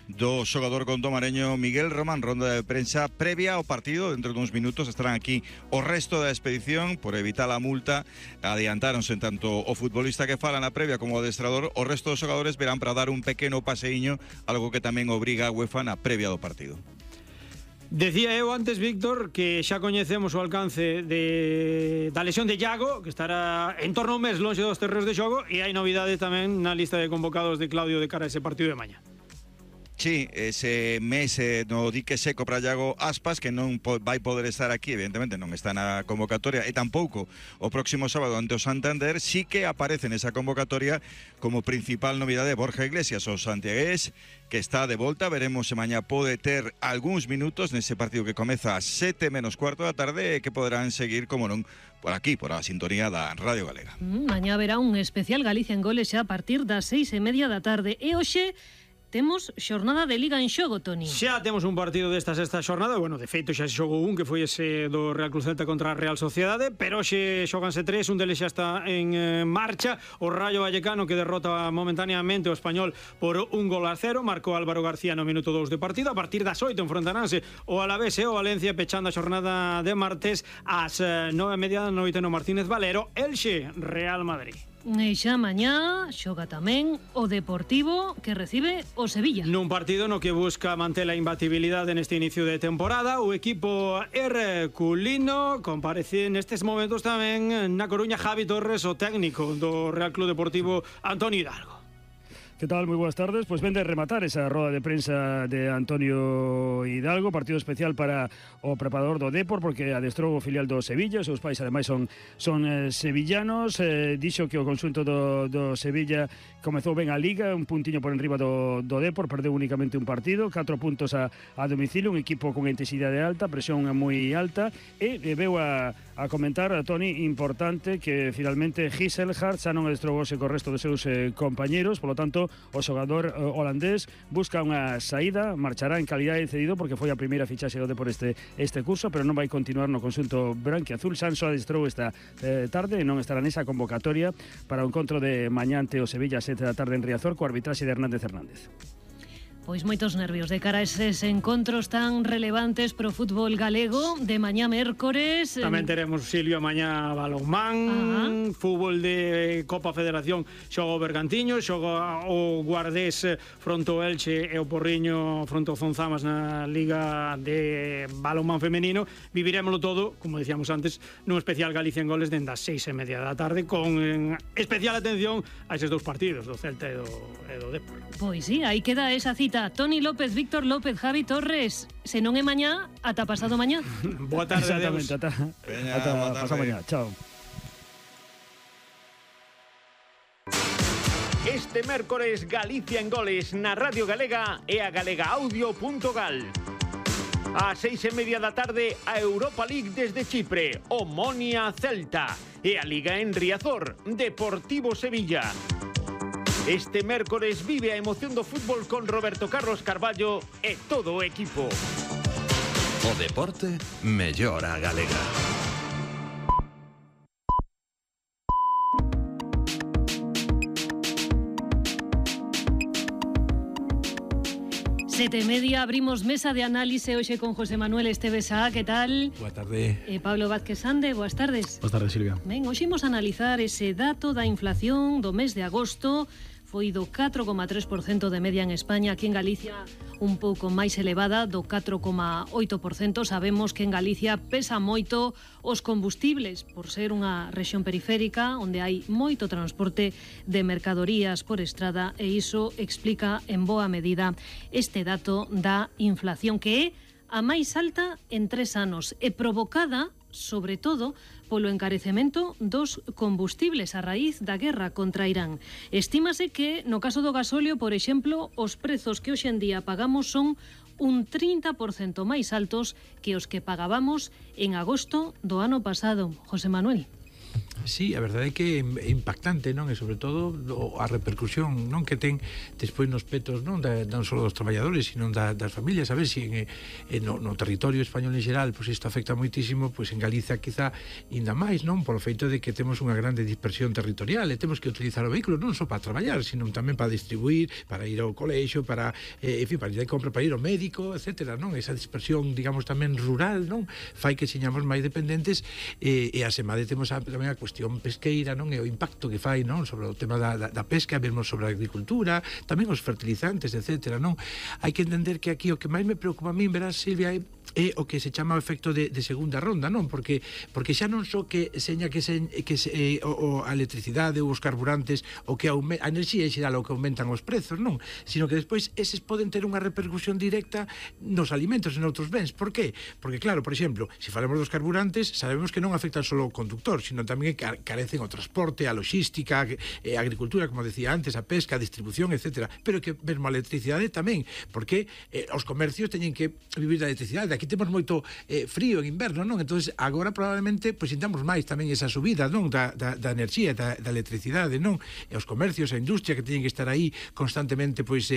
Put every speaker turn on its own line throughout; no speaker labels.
do xogador contomareño Miguel Román. Ronda de prensa previa ao partido. Dentro de uns minutos estarán aquí o resto da expedición. Por evitar a multa, adiantáronse tanto o futbolista que fala na previa como o adestrador. O resto dos xogadores verán para dar un pequeno paseiño, algo que tamén obriga a UEFA na previa do partido.
Decía eu antes, Víctor, que xa coñecemos o alcance da lesión de Iago, que estará en torno a un mes lonxe dos terreos de xogo, e hai novidades tamén na lista de convocados de Claudio de cara a ese partido de mañá.
Sí, ese mes no dique seco para Iago Aspas, que non vai poder estar aquí, evidentemente non está na convocatoria, e tampouco o próximo sábado ante o Santander. Sí que aparece nesa convocatoria como principal novidade Borja Iglesias, o santiagués, que está de volta. Veremos se mañá pode ter algúns minutos nese partido que comeza a 7 menos cuarto da tarde, e que poderán seguir, como non, por aquí, por a sintonía da Radio Galega.
Mañá verá un especial Galicia en Goles xa a partir das 6:30 da tarde. E hoxe temos xornada de Liga en xogo, Toni.
Xa temos un partido desta sexta xornada. Bueno, de feito xa se xogou un, que foi ese do Real Cruz Celta contra a Real Sociedade, pero hoxe xoganse tres, un deles xa está en marcha. O Rayo Vallecano, que derrota momentáneamente o Español por 1-0, marcou Álvaro García no minuto 2 de partido. A partir das 8 enfrontaránse o Alavés e o Valencia, pechando a xornada de martes ás 9:30 da noite no Martínez Valero, Elxe Real Madrid.
E xa mañá xoga tamén o Deportivo, que recibe o Sevilla.
Nun partido no que busca manter a imbatibilidade neste inicio de temporada, o equipo herculino. Comparece nestes momentos tamén na Coruña Javi Torres, o técnico do Real Club Deportivo Antonio Hidalgo.
¿Qué tal? Muy buenas tardes. Pues vende a rematar esa roda de prensa de Antonio Hidalgo, partido especial para o preparador do Depor, porque adestrou o filial do Sevilla. Os seus pais ademais son sevillanos. Dixo que o conxunto do Sevilla comezou ben a Liga, un puntiño por enriba do Depor, perdeu únicamente un partido, 4 puntos a domicilio, un equipo con intensidade alta, presión moi alta, e veu a comentar a Toni, importante, que finalmente Gisselhart xa non adestrou co resto dos seus compañeros, polo tanto o xogador holandés busca unha saída, marchará en calidade de cedido porque foi a primeira fichaxe do Depor este curso, pero non vai continuar no conxunto branquiazul. Sanso adestrou esta tarde e non estará nesa convocatoria para o encontro de mañá ante o Sevilla a 7 da tarde en Riazor, co arbitraxe de Hernández Hernández.
Pois moitos nervios de cara a eses encontros tan relevantes pro fútbol galego de mañá mércores.
Tamén teremos, Silvio, mañá balonmán, fútbol de Copa Federación, xoga o Bergantiño, xoga o Guardés fronto ao Elche e o Porriño fronto ao Zonzamas na Liga de balonmán femenino. Viviremoslo todo, como decíamos antes, nun especial Galicia en Goles dende as 6:30 da tarde, con especial atención a eses dous partidos, do Celta e do Depor.
Pois sí, aí queda esa cita. Toni López, Víctor López, Javi Torres. Se non é mañá, ata pasado mañá.
Boa tarde.
Exactamente, ata pasado mañá. Chao.
Este mércores Galicia en Goles na Radio Galega e a galegaaudio.gal. A 6:30 da tarde, a Europa League desde Chipre, Omonia Celta, e a Liga en Riazor, Deportivo Sevilla. Este mércores vive a emoción do fútbol con Roberto Carlos Carballo e todo o equipo.
O deporte mellora a galega.
Sete e media, abrimos mesa de análise hoxe con José Manuel Esteves Sá, que tal?
Boa tarde.
Pablo Vázquez Sande, boas tardes.
Boas tardes, Silvia.
Ben, hoxe imos analizar ese dato da inflación do mes de agosto. Foi do 4,3% de media en España, aquí en Galicia un pouco máis elevada, do 4,8%. Sabemos que en Galicia pesa moito os combustibles, por ser unha rexión periférica onde hai moito transporte de mercadorías por estrada, e iso explica en boa medida este dato da inflación, que é a máis alta en 3 anos e provocada sobre todo polo encarecemento dos combustibles a raíz da guerra contra Irán. Estímase que no caso do gasóleo, por exemplo, os prezos que hoxe en día pagamos son un 30% máis altos que os que pagábamos en agosto do ano pasado. José Manuel.
Sí, a verdade é que é impactante, non? E sobre todo a repercusión, non, que ten despois nos petos, non só dos traballadores, sino das familias. A ver se no territorio español en xeral, pois isto afecta moitísimo, pois en Galicia quizá ainda máis, non? Polo feito de que temos unha grande dispersión territorial e temos que utilizar o vehículo non só para traballar, sino tamén para distribuir, para ir ao colexio, para, en fin, para ir de compra, para ir ao médico, etcétera, non? Esa dispersión, digamos, tamén rural, non? Fai que señamos máis dependentes e asemade temos tamén a cuestión pesqueira, non? E o impacto que fai, non? Sobre o tema da pesca, mesmo sobre a agricultura, tamén os fertilizantes, etcétera, non? Hai que entender que aquí o que máis me preocupa a min, verás, Silvia, é o que se chama o efecto de segunda ronda, non? Porque xa non só que seña a electricidade ou os carburantes o que a enerxía en xeral o que aumentan os prezos, non? Sino que despois eses poden ter unha repercusión directa nos alimentos e noutros bens. Por qué? Porque claro, por exemplo, se falamos dos carburantes, sabemos que non afectan só o conductor, sino tamén que carecen o transporte, a logística, a agricultura, como decía antes, a pesca, a distribución, etcétera. Pero que mesmo a electricidade tamén, porque os comercios teñen que vivir da electricidade. Aquí temos moito frío en inverno, non? Entonces agora probablemente pois sintamos máis tamén esa subida, non? Da enerxía, da electricidade, non? E os comercios, a industria que teñen que estar aí constantemente pois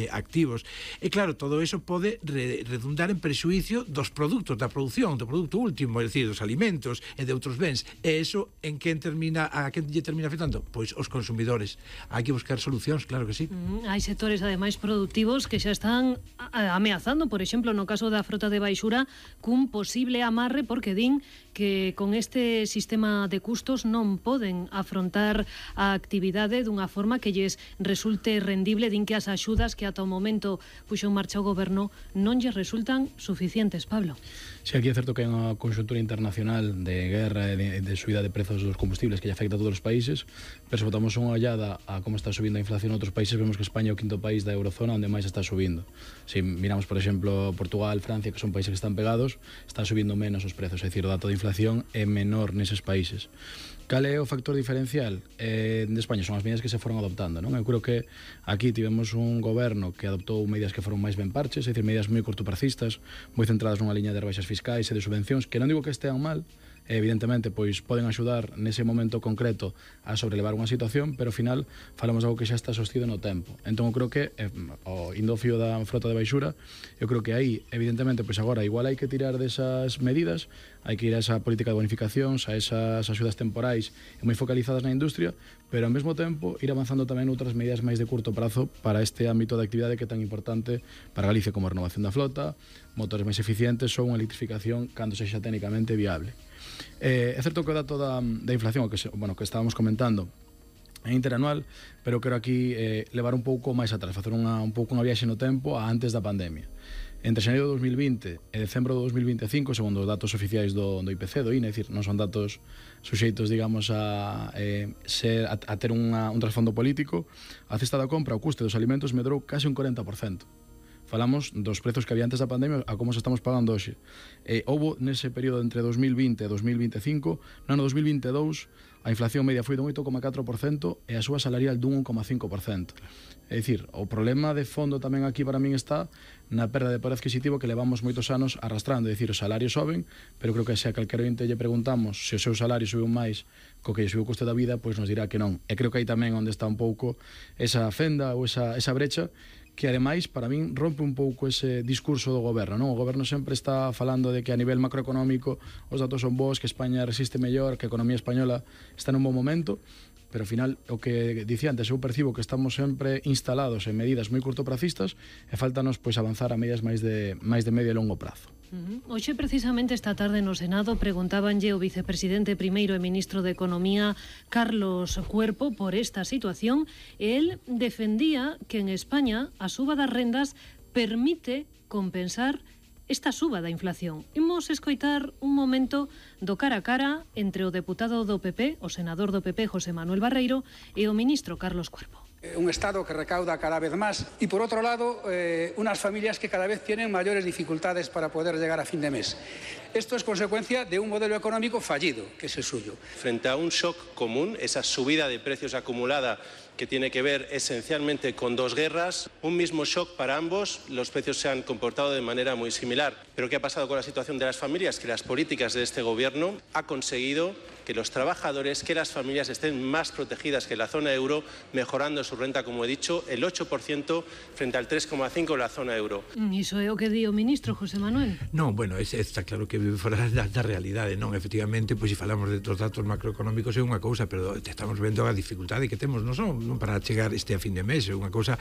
activos. E claro, todo eso pode redundar en prexuicio dos produtos, da produción, do produto último, é dicir, dos alimentos e de outros bens. E eso a quen lle termina afectando? Pois os consumidores. Hai que buscar solucións, claro que sí.
Hai sectores ademais productivos que xa están ameazando, por exemplo, no caso da frota de baixura, cun posible amarre porque din que con este sistema de custos non poden afrontar a actividade dunha forma que lles resulte rendible. Din que as axudas que ata o momento puxo en marcha o goberno non lles resultan suficientes, Pablo.
Si aquí é certo que hai unha conxuntura internacional de guerra e de subida de prezos dos combustibles que lle afecta a todos os países, pero se botamos unha ollada a como está subindo a inflación en outros países, vemos que España é o quinto país da eurozona onde máis está subindo. Se miramos, por exemplo, Portugal, Francia, que son países que están pegados, están subindo menos os prezos, é dicir, o dato de inflación é menor neses países. Cal é o factor diferencial de España? Son as medidas que se foron adoptando, non? Eu creo que aquí tivemos un goberno que adoptou medidas que foron máis ben parches, é dicir, medidas moi cortopracistas, moi centradas nunha liña de rebaixas fiscais e de subvencións, que non digo que estean mal, evidentemente, pois poden axudar nese momento concreto a sobrelevar unha situación, pero ao final falamos de algo que xa está sostido no tempo. Entón, eu creo que o indo ao fío da frota de baixura, eu creo que aí, evidentemente, pois agora igual hai que tirar desas medidas, hai que ir a esa política de bonificacións, a esas axudas temporais e moi focalizadas na industria, pero ao mesmo tempo ir avanzando tamén outras medidas máis de curto prazo para este ámbito de actividade que é tan importante para Galicia, como a renovación da flota, motores máis eficientes ou unha electrificación cando sexa técnicamente viable. É certo que o dato da inflación, que estábamos comentando, é interanual, pero quero aquí levar un pouco máis atrás, facer un pouco unha viaxe no tempo a antes da pandemia. Entre xaneiro de 2020 e decembro de 2025, segundo os datos oficiais do IPC, do INE, é dicir, non son datos suxeitos, digamos, a ter un trasfondo político, a cesta da compra, o custe dos alimentos medrou case un 40%. Falamos dos prezos que había antes da pandemia a como se estamos pagando hoxe. Houbo nese período entre 2020 e 2025, no ano 2022, a inflación media foi dun 8,4% e a súa salarial dun 1,5%. É dicir, o problema de fondo tamén aquí para min está na perda de poder adquisitivo que levamos moitos anos arrastrando. É dicir, os salarios soben, pero creo que se a calquera ointe lle preguntamos se o seu salario sube máis co que lle sube o custe da vida, pois nos dirá que non. E creo que aí tamén onde está un pouco esa fenda ou esa brecha que ademais, para min, rompe un pouco ese discurso do goberno, non? O goberno sempre está falando de que a nivel macroeconómico os datos son bons, que España resiste mellor, que a economía española está nun bon momento, pero ao final, o que dicía antes, eu percibo que estamos sempre instalados en medidas moi cortopracistas e faltanos pois avanzar a medidas máis de medio e longo prazo.
Hoxe, precisamente esta tarde no Senado, preguntábanlle o vicepresidente primeiro e ministro de Economía, Carlos Cuerpo, por esta situación, e el defendía que en España a suba das rendas permite compensar esta suba da inflación. Imos escoitar un momento do cara a cara entre o deputado do PP, o senador do PP, José Manuel Barreiro, e o ministro Carlos Cuerpo.
Un Estado que recauda cada vez más y, por otro lado, unas familias que cada vez tienen mayores dificultades para poder llegar a fin de mes. Esto es consecuencia de un modelo económico fallido, que es el suyo.
Frente a un shock común, esa subida de precios acumulada que tiene que ver esencialmente con dos guerras, un mismo shock para ambos, los precios se han comportado de manera muy similar. Pero ¿qué ha pasado con la situación de las familias? Que las políticas de este gobierno ha conseguido que los trabajadores, que las familias estén más protegidas que la zona euro, mejorando su renta, como he dicho, el 8% frente al 3,5% de la zona euro.
Iso é o que di o ministro José Manuel.
Non, bueno, está claro que vive fora da realidade, non? Efectivamente, pois se falamos de dos datos macroeconómicos é unha cousa, pero estamos vendo a dificultade que temos non para chegar a fin de mes, é unha cousa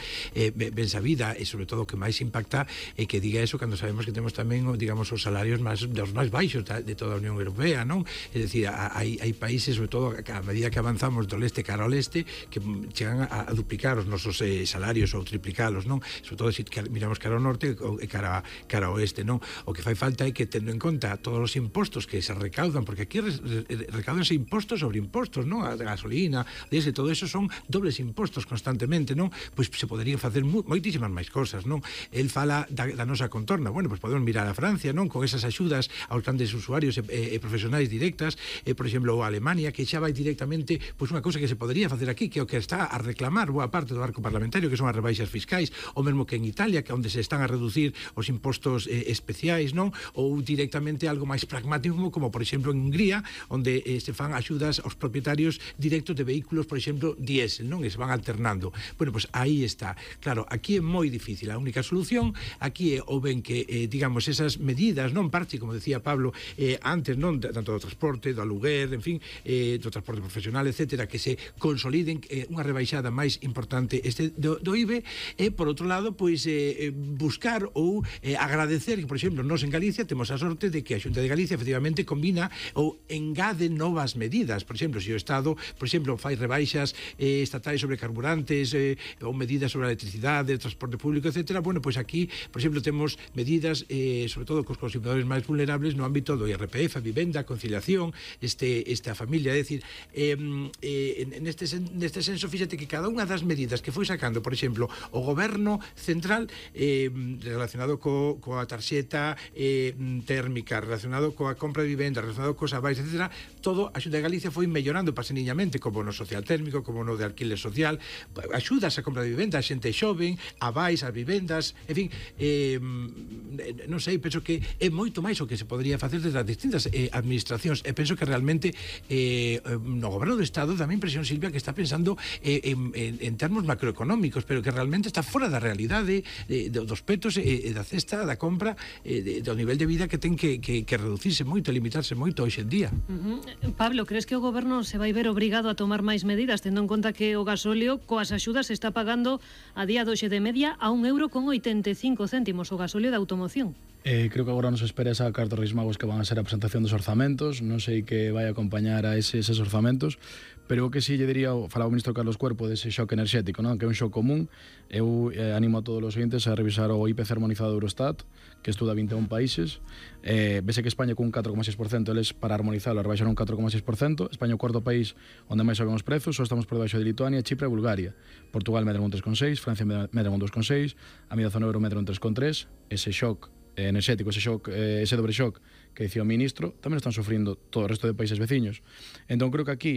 ben sabida, e sobre todo o que máis impacta é que diga eso cando sabemos que temos tamén, digamos, os salarios dos máis baixos de toda a Unión Europea, non? É dicir, hai países, sobre todo a medida que avanzamos do leste cara ao leste, que chegan a duplicar os nosos salarios ou triplicalos, non? Sobre todo se miramos cara ao norte e cara ao oeste, non? O que fai falta é que, tendo en conta todos os impostos que se recaudan, porque aquí recaudanse impostos sobre impostos, non? A gasolina, desde todo eso son dobles impostos constantemente, non? Pois se poderían facer moitísimas máis cosas, non? El fala da nosa contorna, bueno, pois podemos mirar a Francia, non? Con esas axudas aos grandes usuarios e profesionais directas, por exemplo, ou a Alemania, que xa vai directamente, pois unha cousa que se podería facer aquí, que é o que está a reclamar boa parte do arco parlamentario, que son as rebaixas fiscais, ou mesmo que en Italia, que onde se están a reducir os impostos especiais, non? Ou directamente algo máis pragmático, como por exemplo en Hungría, onde se fan axudas aos propietarios directos de vehículos, por exemplo, diésel, non? E se van alternando. Bueno, pois aí está. Claro, aquí é moi difícil. A única solución aquí é o ben que, digamos, esas medidas, non parche, como decía Pablo antes, non? Tanto do transporte, do aluguer, en fin, do transporte profesional, etcétera, que se consoliden unha rebaixada máis importante do IBE, e, por outro lado, pois buscar ou agradecer que, por exemplo, nós en Galicia temos a sorte de que a Xunta de Galicia efectivamente combina ou engade novas medidas. Por exemplo, se o Estado, por exemplo, fai rebaixas estatais sobre carburantes ou medidas sobre a electricidade, transporte público, etcétera, bueno, pois aquí, por exemplo, temos medidas sobre todo cos consumidores máis vulnerables no ámbito do IRPF, a vivenda, a conciliación, esta familia, é dicir, neste senso, fíxate que cada unha das medidas que foi sacando, por exemplo, o goberno central relacionado coa tarxeta térmica, relacionado coa compra de vivenda, relacionado cos avais, etcétera, todo a Xunta de Galicia foi mellorando paseniñamente, como no social térmico, como no de alquiler social, axudas a compra de vivenda, a xente xoven, avais, as vivendas, en fin, non sei, penso que é moito máis o que se podría facer desde as distintas administracións, e penso que realmente no goberno do Estado dá a impresión, Silvia, que está pensando en termos macroeconómicos, pero que realmente está fora da realidade dos petos e da cesta da compra, do nivel de vida que ten que reducirse moito, limitarse moito hoxe en día.
Pablo, crees que o goberno se vai ver obrigado a tomar máis medidas, tendo en conta que o gasóleo coas axudas se está pagando a día doxe de media a 1,85 € o gasóleo da automoción?
Creo que agora nos espera esa carta Reis Magos que van a ser a presentación dos orzamentos. Non sei que vai a acompañar a eses orzamentos, pero o que si lle diría, falaba o ministro Carlos Cuerpo dese shock enerxético, non? Que é un shock común. Eu animo a todos os ointes a revisar o IPC armonizado do Eurostat, que estuda 21 países. Vese que España con un 4,6%, eles para armonizarlo rebaixaron un 4,6%. España é o cuarto país onde máis soben os prezos, só estamos por debaixo de Lituania, Chipre e Bulgaria. Portugal medra un 3,6%, Francia medra un 2,6%, a media zona euro medra un 3,3%. Ese shock enerxético, ese dobre shock que dicía o ministro, tamén están sufrindo todo o resto de países veciños. Entón creo que aquí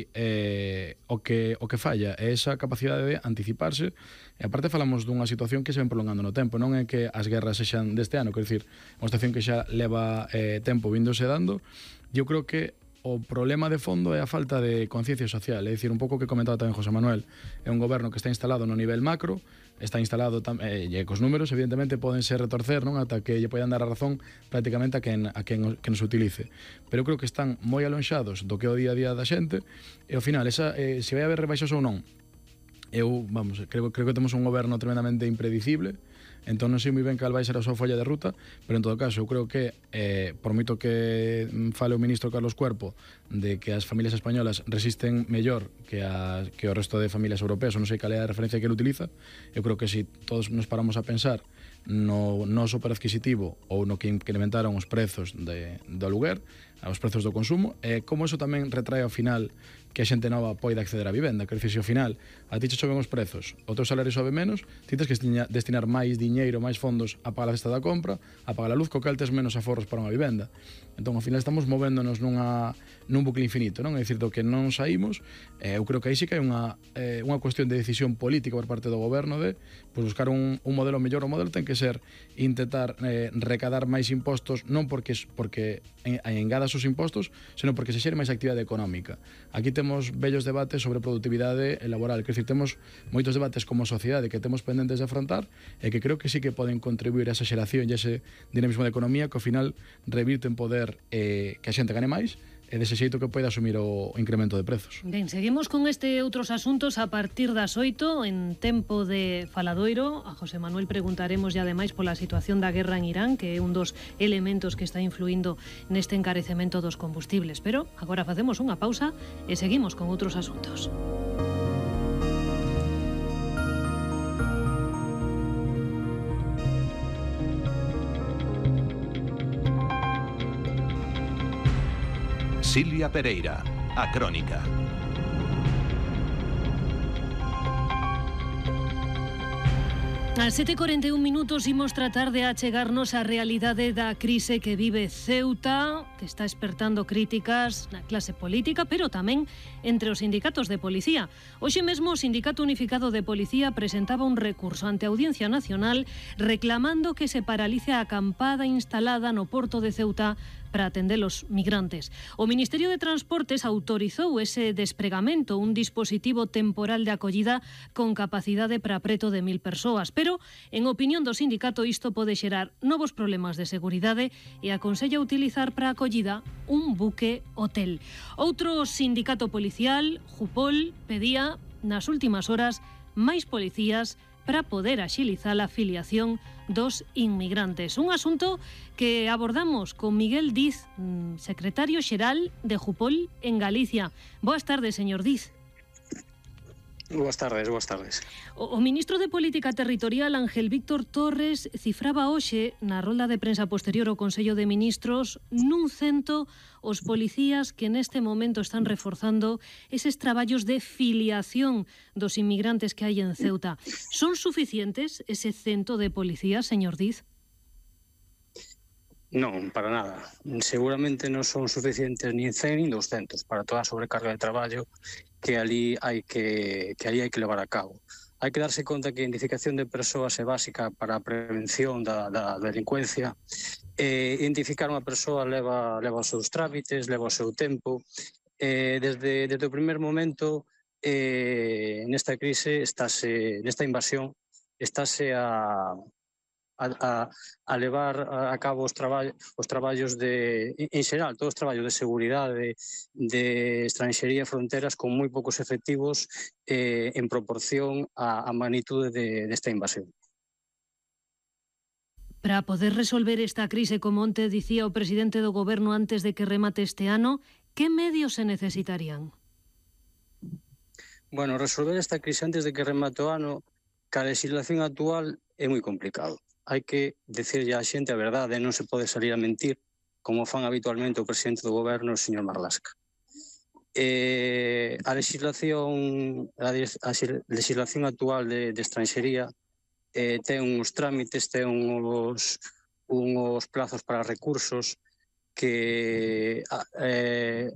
o que falla é esa capacidade de anticiparse, e aparte falamos dunha situación que se ven prolongando no tempo, non é que as guerras sexan deste ano, quer dicir, unha situación que xa leva tempo vindose dando. Eu creo que o problema de fondo é a falta de conciencia social, é dicir, un pouco que comentaba tamén José Manuel, é un goberno que está instalado no nivel macro, está instalado e cos números evidentemente poden ser retorcer, non, ata que lle poidan dar a razón prácticamente a quen nos utilice, pero creo que están moi alonxados do que é o día a día da xente, e ao final se vai haber rebaixas ou non, creo que temos un goberno tremendamente impredicible. Entón non sei moi ben cal vai ser a súa folla de ruta, pero en todo caso eu creo que por moito que fale o ministro Carlos Cuerpo de que as familias españolas resisten mellor que o resto de familias europeas, ou non sei cal é a referencia que ele utiliza, eu creo que se todos nos paramos a pensar no noso poder adquisitivo ou no que incrementaron os prezos do aluguer, aos prezos do consumo, e como eso tamén retrae ao final que a xente nova poida acceder á vivenda, que ao final a ti che choven os prezos, o teu salario sobe menos, ti tens que destinar máis diñeiro, máis fondos a pagar a cesta da compra, a pagar a luz, co cal tes menos aforros para unha vivenda. Entón, ao final estamos movéndonos nun bucle infinito, non? É dicir, do que non saímos, eu creo que aí sí que hai unha cuestión de decisión política por parte do goberno de buscar un modelo mellor. O modelo ten que ser intentar recadar máis impostos, non porque engadas os impostos, senón porque se xere máis actividade económica. Aquí temos vellos debates sobre productividade laboral, que temos moitos debates como sociedade que temos pendentes de afrontar e que creo que sí que poden contribuir a esa xeración e a ese dinamismo de economía que ao final revirte en poder que a xente gane máis e dese xeito que poida asumir o incremento de prezos.
Ben, seguimos con este outros asuntos a partir das 8 en tempo de faladoiro. A José Manuel preguntaremos e ademais pola situación da guerra en Irán, que é un dos elementos que está influindo neste encarecemento dos combustibles. Pero agora facemos unha pausa e seguimos con outros asuntos.
Silvia Pereira, a Crónica.
Ás 7:41 minutos imos tratar de achegarnos á realidade da crise que vive Ceuta, que está espertando críticas na clase política, pero tamén entre os sindicatos de policía. Hoxe mesmo o Sindicato Unificado de Policía presentaba un recurso ante a Audiencia Nacional reclamando que se paralice a acampada instalada no porto de Ceuta para atender os migrantes. O Ministerio de Transportes autorizou ese despregamento, un dispositivo temporal de acollida con capacidade para preto de 1000 persoas, pero, en opinión do sindicato, isto pode xerar novos problemas de seguridade e aconsella utilizar para a acollida un buque hotel. Outro sindicato policial, Jupol, pedía nas últimas horas máis policías para poder axilizar a afiliación dos inmigrantes. Un asunto que abordamos con Miguel Diz, secretario xeral de Jupol en Galicia. Boas tardes, señor Diz.
Boas tardes.
O ministro de Política Territorial, Ángel Víctor Torres, cifraba hoxe na rolda de prensa posterior ao Consello de Ministros nun 100 os policías que neste momento están reforzando eses traballos de filiación dos inmigrantes que hai en Ceuta. Son suficientes ese 100 de policías, señor Diz?
Non, para nada. Seguramente non son suficientes nin 100 nin 200 para toda a sobrecarga de traballo que ali hai que levar a cabo. Hai que darse conta que a identificación de persoas é básica para a prevención da delincuencia. Identificar unha persoa leva os seus trámites, leva o seu tempo. Desde o primer momento, nesta crise, nesta invasión, estáse a levar a cabo os traballos en xeral, todos os traballos de seguridade, de estranxería e fronteras con moi poucos efectivos en proporción á magnitude desta invasión.
Para poder resolver esta crise, como onte dicía o presidente do goberno antes de que remate este ano, que medios se necesitarían?
Bueno, resolver esta crise antes de que remate o ano, ca legislación actual é moi complicado. Hai que decirlle á xente a verdade, non se pode salir a mentir, como fan habitualmente o presidente do goberno, o señor Marlaska. A legislación actual de estranxería ten uns trámites, ten uns plazos para recursos que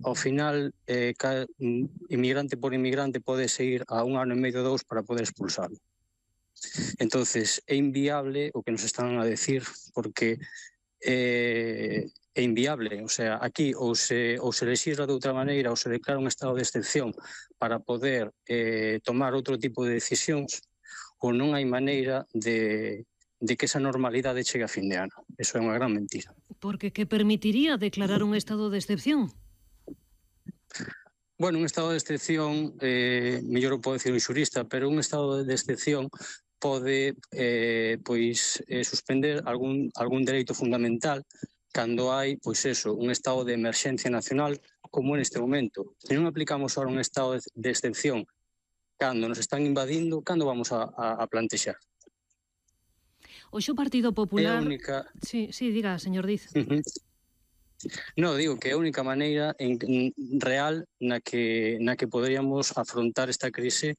ao final inmigrante por inmigrante pode seguir a 1 ano e medio, 2 para poder expulsarlo. Entonces, é inviable o que nos están a decir, porque é inviable. O sea, aquí ou se lexisla de outra maneira ou se declara un estado de excepción para poder tomar outro tipo de decisións, ou non hai maneira de que esa normalidade chegue a fin de ano. Eso é unha gran mentira.
Porque que permitiría declarar un estado de excepción?
Bueno, un estado de excepción, mellor o pode decir un xurista, pero un estado de excepción pode suspender algún dereito fundamental cando hai, un estado de emerxencia nacional como neste momento. Se non aplicamos ahora un estado de excepción cando nos están invadindo, cando vamos a plantexar?
Hoxe o Partido Popular...
É a única...
Sí, diga, señor Diz.
No, digo que é a única maneira real na que poderíamos afrontar esta crise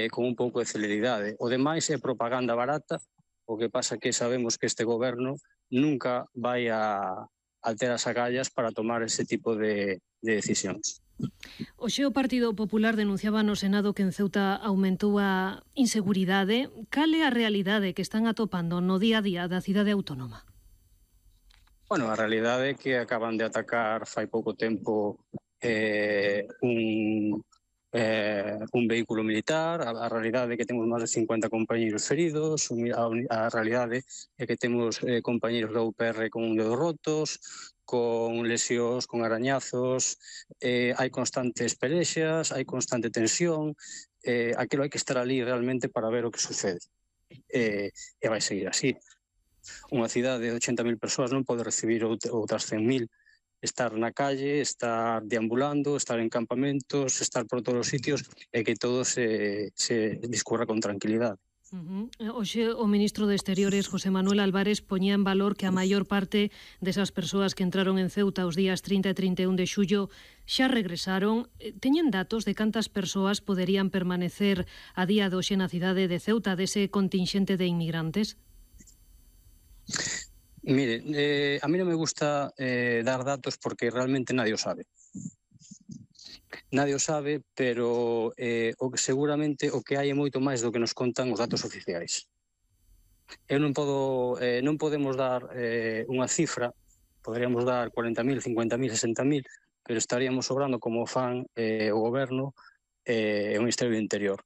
con un pouco de celeridade. O demais é propaganda barata, o que pasa que sabemos que este goberno nunca vai a ter as agallas para tomar ese tipo de decisións.
Hoxe o Partido Popular denunciaba no Senado que en Ceuta aumentou a inseguridade. Cal é a realidade que están atopando no día a día da cidade autónoma?
Bueno, a realidade é que acaban de atacar fai pouco tempo un vehículo militar. A realidade é que temos máis de 50 compañeros feridos. A realidade é que temos compañeros da UPR con dedos rotos, con lesións, con arañazos, hai constantes pelexas, hai constante tensión, aquilo hai que estar ali realmente para ver o que sucede. E vai seguir así. Unha cidade de 80.000 persoas non pode recibir outras 100.000. Estar na calle, estar deambulando, estar en campamentos, estar por todos os sitios e que todo se discurra con tranquilidade.
Hoxe o ministro de Exteriores, José Manuel Álvarez, poñía en valor que a maior parte desas persoas que entraron en Ceuta os días 30 e 31 de xullo xa regresaron. Teñen datos de cantas persoas poderían permanecer a día de hoxe na cidade de Ceuta dese contingente de inmigrantes?
Mire, a mí non me gusta dar datos porque realmente nadie o sabe. Nadie o sabe, pero seguramente o que hai é moito máis do que nos contan os datos oficiais. Non podemos dar unha cifra, poderíamos dar 40.000, 50.000, 60.000, pero estaríamos sobrando como fan o goberno e o Ministerio do Interior.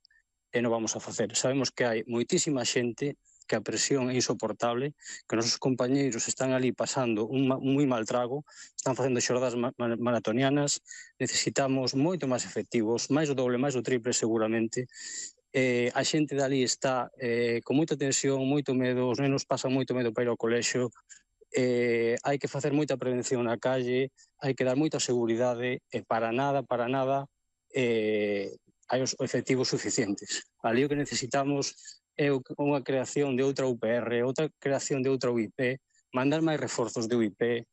E non vamos a facer. Sabemos que hai moitísima xente que a presión é insoportable, que os nosos compañeiros están ali pasando un moi mal trago, están facendo xornadas maratonianas, necesitamos moito máis efectivos, máis do doble, máis do triple seguramente. A xente dali está con moita tensión, moito medo, os nenos pasan moito medo para ir ao colexio, hai que facer moita prevención na calle, hai que dar moita seguridade, e para nada hai os efectivos suficientes. Ali o que necesitamos é unha creación de outra UPR, outra creación de outra UIP, mandar máis reforzos de UIP,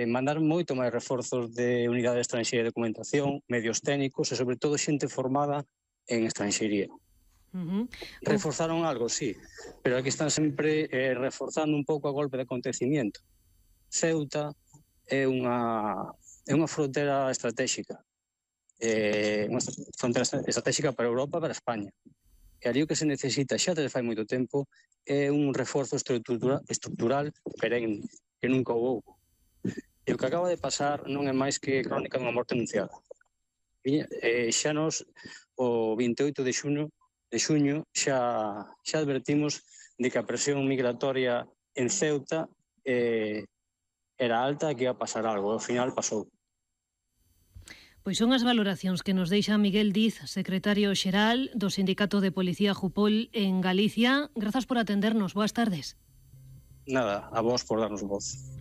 mandar moito máis reforzos de unidade de estranxería e documentación, medios técnicos e, sobre todo, xente formada en estranxería. Reforzaron algo, sí, pero aquí están sempre reforzando un pouco a golpe de acontecimiento. Ceuta é unha frontera estratégica, unha frontera estratégica para Europa e para España. E ali o que se necesita xa desde fai moito tempo é un reforzo estrutural perenne, que nunca houve. E o que acaba de pasar non é máis que crónica dunha morte anunciada. Xa nos, o 28 de xuño, xa advertimos de que a presión migratoria en Ceuta era alta e que ia pasar algo. Ao final pasou.
Pois son as valoracións que nos deixa Miguel Diz, secretario xeral do Sindicato de Policía Jupol en Galicia. Grazas por atendernos. Boas tardes.
Nada, a vos por darnos voz.